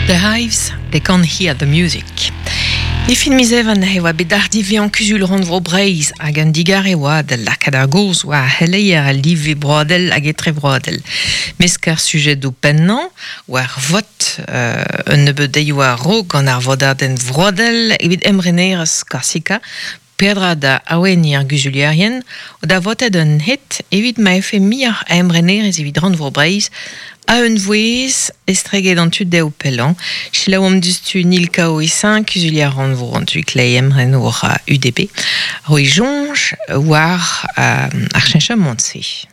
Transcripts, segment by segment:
The Hives, They Can't Hear the Music. E fin miz Even e oa bet ardiveañ Kuzul Rannvro Breizh hag un digarez e oa da lakaat ar gaoz war ar c'heleier al live broadel hag etrevroadel. Mesk ar sujedoù pennañ war vot un nebeud deioù a-raok gant ar vodadenn vroadel evit emrenerezh Korsika Peadra da aweniñ ar guzulierien o da votet un het evit ma efe muioc'h a emrenerezh evit Rannvro Breizh a-unvouezh estreget an tu dehoù pellañ. Selaouomp diouzhtu Nil Kaouisin, kuzulier rannvro an tu kleiz emrenour UDB, roiñ soñj war ar cheñchamant-se.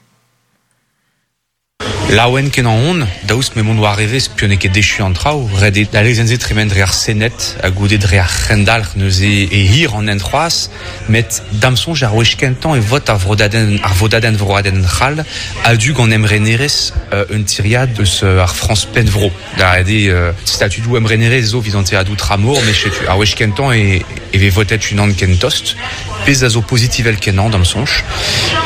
Laouen kenañ on, daoust m'emaon war evezh piv n'eo ket echu an traoù. Ret eo d'al lezenn-se tremen dre ar Sened ha goude dre ar C'hendalc'h neuze e hir an hent c'hoazh. Met da'm soñj ar wech kentañ e vot ar vrodadenn ar vodadenn vroadenn c'hall a-du gant emrenerezh un tiriad eus ar Frañs pennvro. Da ret eo statudoù emrenerezh zo evit an tiriadoù tramor met setu ar wech kentañ e vez votet unan ken tost. Pezh a zo pozitivel-kenañ d'am soñj.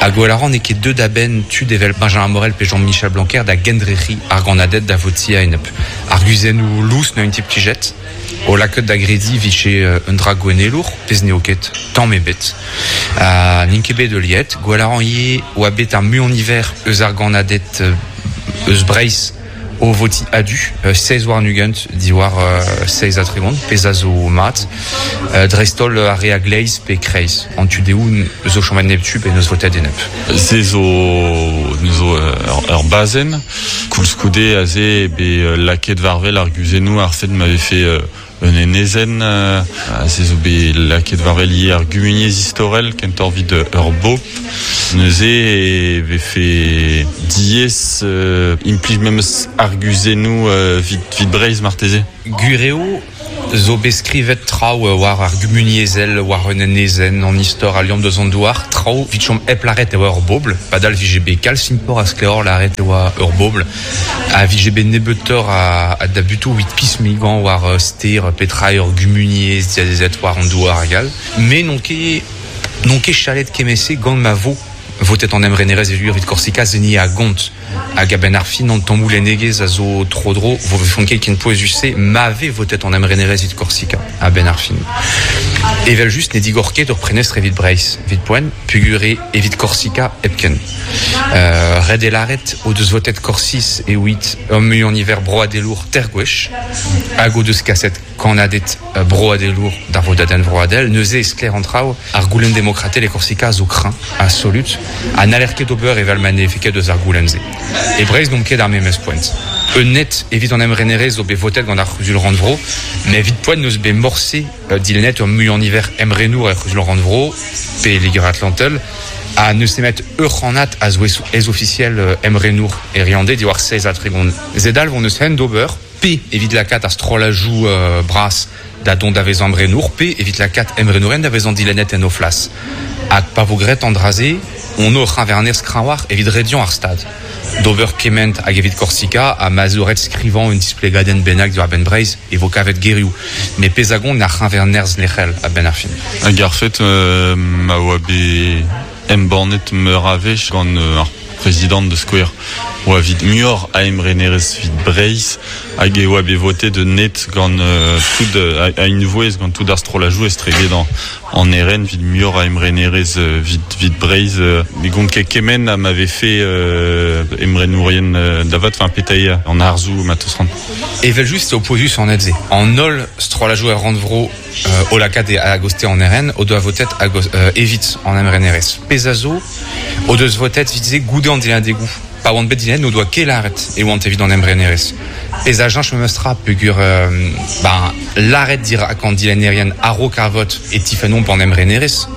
Ha gwell a ran n'eo ket deuet a-benn tud evel Benjamin Morel pe Jean-Michel Blanquer da gendrec'hiñ ar gannaded da votiñ a-enep. Arguzennoù lous neuint implijet, o lakaat da grediñ 'vije un dra gouennelour, pezh n'eo ket, tamm ebet. Ha n'int ket bet heuliet. Gwell a ran ivez oa bet ar muiañ-niver eus ar gannaded eus Breizh O votiñ a-du, 27 diwar 37, pezh a zo mat, dreist-holl ar re a-gleiz pe kreiz, an tu dehou zo chomet neptu pe n'eus votet enep. Se zo zo ur bazenn. Koulskoude aze eo bet lakaet war-wel ar guzennoù ar fed ma vefe Un enezenn aze zo bet lakaet war wel ivez ar gumuniezh istorel kentoc'h evit ur bobl. Neuze e vefe diaes implij memes arguzennoù evit Breizh marteze. Gwir eo zo bet skrivet traoù war ar gumuniezhel, war un enezenn, an istor a liamm deus an douar, traoù evit chom hep lâret e oa ur bobl, padal 'vije bet kalz simploc'h ha sklaeroc'h lâret e oa ur bobl. A vije bet nebeutoc'h a dabutoù evit pismigañ war ster petra eo ur gumuniezh diazezet war an douar hag all. Me n'on ket n'on ket chalet kement-se gant ma vo votet an emrenerezh evit Korsika se ni a gont. Hag a-benn ar fin an tammoù lennegezh a zo tro-dro vo vefont ket ken pouezus-se ma vez votet an emrenerezh evit Korsika a-benn ar fin. Evel-just ne digor ket ur prenestr evit Breizh evit poent peogwir eo evit Korsika hepken. Ret eo lâret o deus votet Korsiz evit ur muiañ-niver broadelour teir gwech hag o deus kaset kannaded broadelour d'ar vodadenn vroadel. Neuze e sklaer an traoù, ar goulenn demokratel e Korsika a zo kreñv ha solut ha n'haller ket ober evel ma ne vefe ket eus ar goulenn-se. E Breizh n'omp ket ar memes poent. Un net evit an emrenerezh zo bet votet gant ar C'huzul-rannvro, met evit poent n'eus bet morse dilennet ur muiañ-niver emrenour er C'huzul-rannvro pe Liger-Atlantel. Ha n'eus nemet ur c'hannad a zo ez-ofisiel emrenour e Riande diwar 37. Zedalv hon eus hent d'ober, pe evit lakaat ar strollajoù bras da dont da vezañ emrenour, pe evit lakaat emrenourien da vezañ dilennet en o flas. Hag pa vo graet an dra-se, hon o c'heñver-nerzh kreñvoc'h evit rediañ ar Stad d'ober kement hag evit Korsika, ha ma zo ret skrivañ un displegadenn bennak diwar-benn Breizh e vo kavet gerioù. Met pezh a gont ar c'heñver-nerzh lec'hel a-benn ar fin. Hag ar fet ma oa bet embannet meur a wech gant ar prezidant da skouer oa evit muioc'h a emrenerezh evit Breizh hag e oa bet votet un net gant tout a-unvouezh gant tout ar strollajoù estreget an RN evit muioc'h a emrenerezh evit Breizh. Ne gont ket kement ha ma vefe emrenourien da vat, enfin petra eo an harzoù ma 'teus c'hoant. Evel-just eo pouezus an hed-se. An holl strollajoù er rannvro o lakaat a-goste an RN o doa votet evit an emrenerezh. Pezh a zo o deus votet evit-se goude an dilennadegoù. Pa oant bet dilennet n'o doa ket lâret e oant evit an emrenerezh. Pezh a cheñch memes tra peogwir ben lâret dirak an dilennerien a-raok ar vot e tifennomp an emrenerezh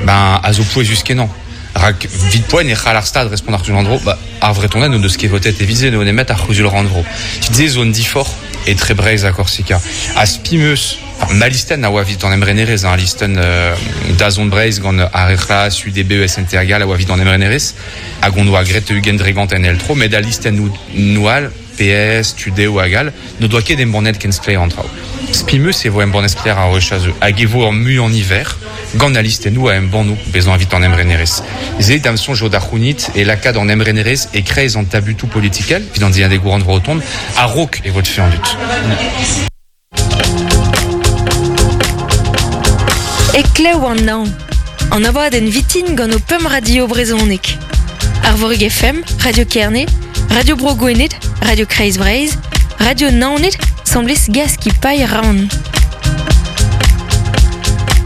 ben a zo pouezus-kenañ. Rak 'vit poent e c'hall ar Stad respont ar C'huzul-rannvro, ba, ar Vretoned n'o deus ket votet evit se, n'eo nemet ar C'huzul-rannvro. Se zo un diforc'h etre Breizh ha Korsika. Ha spi 'm eus, enfin, ma listenn a oa evit an emrenerezh, hein, listenn dazont Breizh gant ar re c'hlas, UDB, SNT hag all a oa evit an emrenerezh, hag hon oa graet 20% en eil tro, met al listennoù all, PS, Tudeo hag all, n'o doa ket embannet ken sklaer an traoù. Spi 'm eus e vo embannet sklaer ar wech a zeu hag e vo ur muiañ niver gant al listennoù a embanno bezañ evit an emrenerezh. Se da'm soñj eo da c'hounit e lakaat an emrenerezh e-kreiz an tabutoù politikel evit an diadegoù rannvro o tont a-raok e votfe an dud. Heklev an hañv, an abadenn vitin gant ho pemp radio brezhonek. Arvorig FM, Radio Kerne, Radio Bro Gwened, Radio Kreiz Breizh, Radio Naoned, 'semblez Gaskipailh Rann.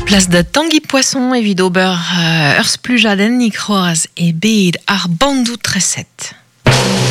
Plas da Tangi Poisson evit ober ur splujadennig c'hoazh e bed ar bandoù treset.